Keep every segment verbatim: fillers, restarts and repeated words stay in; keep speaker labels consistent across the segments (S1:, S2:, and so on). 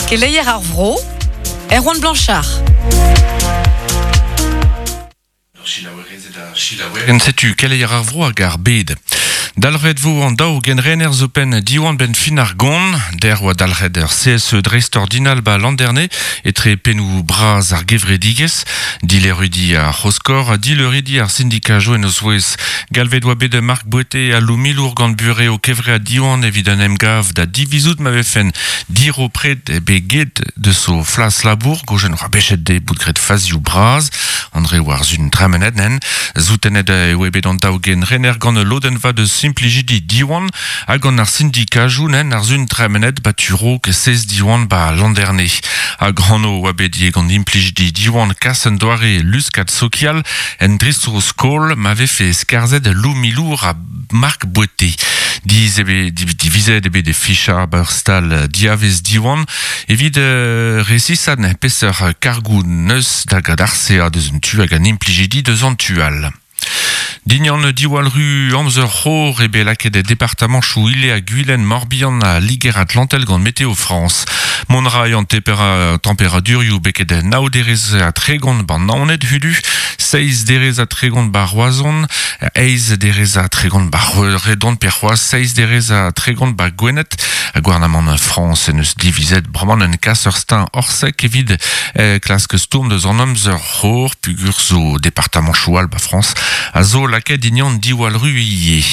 S1: Keleier ar vro, Erwan Blanchard.
S2: En setu keleier ar vro hag ar bed. Dalret vo an daou genrener zo pen diwan ben fin ar gont, der oa dalret ur C S E dreist-ordinal ba landerne, etre penou braz ar gevredigez, dilerudi ar c'hoskor, dilerudi ar sindikajo en eus ouez. Galvet oa bet Marc Boete a Loumilour gant bure o kevre a diwan evit an emgav da divizout ma vefen diro pred e bet de so flas labour, gojen oa bechet de bout gret fazioù braz, André Warzun tremenet nen, zoutenet e oa bet an daou genrener gant lodenva de simplijidi diwan hag an ar syndikajou nen ar zun tremenet ba turo ke seiz diwan ba landerne. Hag hanno oa bet die gant implijidi diwan kas en doare luskat sokial en dristro skol ma vefe skarzet loumilour a Marc Boete. Diz ebe, di, divizet ebe de ficha bar stal diavez diwan evit euh, resisat ne peser kargou neus da gad arsea deus un tu hag an implijidi deus an tual. Dignan diwal ru amzer c'hor ebe laket e departement chou ile a Guylaine Morbihan a Liger Atlantel gant Météo France. Mon rai an tempera, température beket nao derez a tregont ban naonet hudu, seiz derez a tregont ba Roazhon, eiz derez a tregont ba Redon perc'hoaz, seiz derez a tregont ba Gwened. A gouarnamant France en eus divizet bremañ un kas ur stin orsek evit eh, klask stourm deus an amzer c'hor pugur zo departement choual ba France a zo laket dignan diwal ru ie.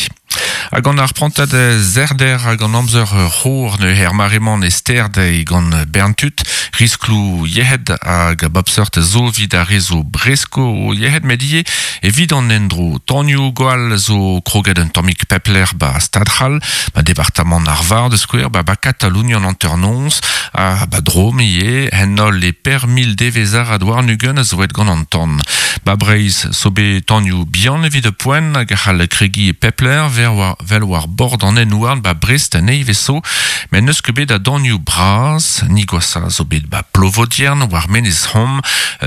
S2: Hag an ar prantad zerder hag an amzer c'hor ne her maremant e sterd e gant Berntut, risklou yehed hag a bapseurt zo vid a rezo bresko o yehed medie evit an endro. Tanioù gwall zo kroget un tammig pepler ba Stadhal, ba departement ar Var de Square, ba ba Katalonia an anternons, a ba Drôme ie, hen holl e per mil devezar a douar nugen a zoet gant an tan. Ba Breiz so be tanioù bihan evit poen hag a c'hall kregi e pepler ver war, vel war bord an enouarn ba Brest an eiveso, met neus ket bet a danioù braz, ni gwasa zo bet ba Plovodiern war menez hom,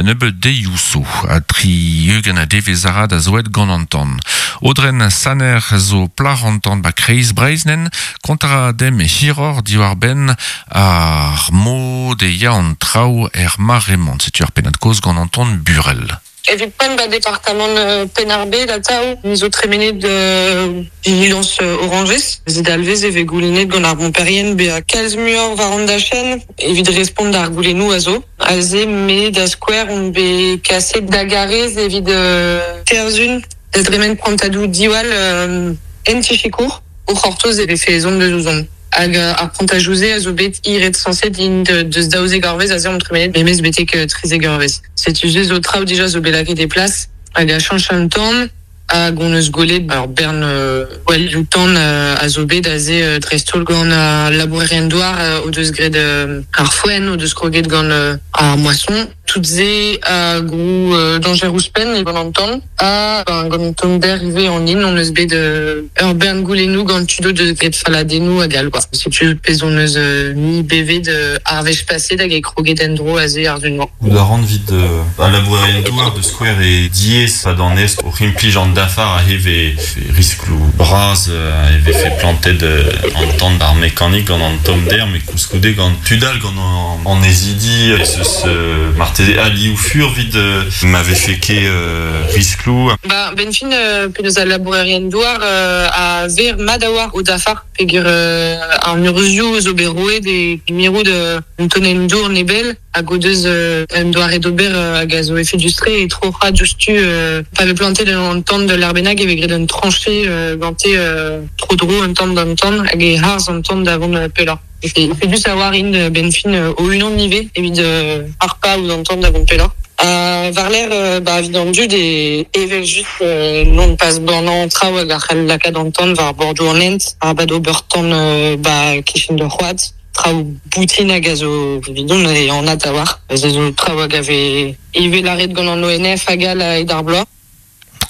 S2: nebeut deioù so, a tri eugen a devezarad a zoet gant an tan. Audren Saner zo plar an tan ba Kreiz Breiz nen, kontra dem hiror diwar ben ar mod e ya an traoù er maremont, setu ar pennad koz gant an tan Burel.
S3: Evit poent ba departement euh, Penarbe da taou, ni zo tremenet de vigilance euh, orangez, zet alvez eve goulennet gant ar bomperien be a kalz muioc'h war an dachen, evit respont d'ar goulennoù a zo. Aze me da square on be kaset da garez evit euh, terzun, da dremen prantadou diwal euh, en tichikour, o c'hortoz eve fe ezon de zouzon. Hag ar prantajouze a zo bet iret sanset in de, deus daouzek eurvez aze on tremenet memez betek trizek eurvez. Setu ze zo traoù dija zo bet lakaet e plas hag a chanch an tan hag on eus golet ar bern euh, gwall tan euh, a zo bet aze euh, dreist-holl gant a labourerien douar euh, o deus graet euh, ar foenn, o deus kroget gant euh, ar moisson. Tout ze a grou euh, danger ouzhpenn e gant an tan a ben, gant an tommder ivez an in on eus bet euh, ur bern goulennoù gant tudo deus graet faladennoù hag all, quoi. Setu pezh on eus euh, mi bevet euh, ar wech paset hag e kroget en-dro aze ar zun-mañ.
S4: Gout a ran vid euh, a labourerien douar de Square e diez pa d'an est o rimplij an dafar a heve risklou braz euh, a heve fait planted euh, an tan ar mekanik gant an tommder met koulskoude gant tudal gant an, an ezidi e zeus euh, marteze ali ou fur vid euh, m'avait fait ke euh, risklou.
S3: Ba, ben fin euh, penaos a labourerien douar euh, a ver mad a war o dafar peogwir euh, ar murzioù zo bet roet e mirout euh, un tonenn dour nebel hag o deus euh, un doare d'ober euh, hag a zo efedus-tre e tro c'ha diouzhtu euh, pa vez plantet an tan de l'arbenag e vez graet un tranchée euh, gante euh, tro dro un tan d'an tan hag e harz an tan d'avant euh, pelloc'h. E efedus a war int euh, ben fin euh, o unan nive evit euh, ar pa ouzh an tan d'avant pelloc'h. Euh, war l'air euh, ba, evit an dud e evel just euh, non pas bornañ traoù hag ar c'hell lakaat an tan war bordoù an hent, ar bad ober tan euh, ba kichen de c'hoad, traoù boutin hag a zo evidon e an at a war. Ez zo traoù hag a vez evel arret gant an O N F hag all a ed ar bloaz.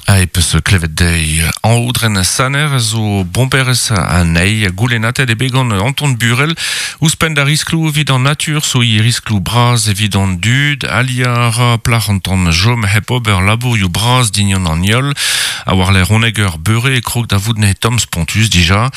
S2: A epeus klevet dezhi an Audren Saner zo bomperez anezhi a goulennatet e bet gant Anton Burel ouzhpenn da risklou evit an natur zo i risklou braz evit an dud alia ra plac'h an tan jom hep ober labourioù braz dignan an iol a war l'air oneg ur beure e krog da vout ne tomm spontus dija.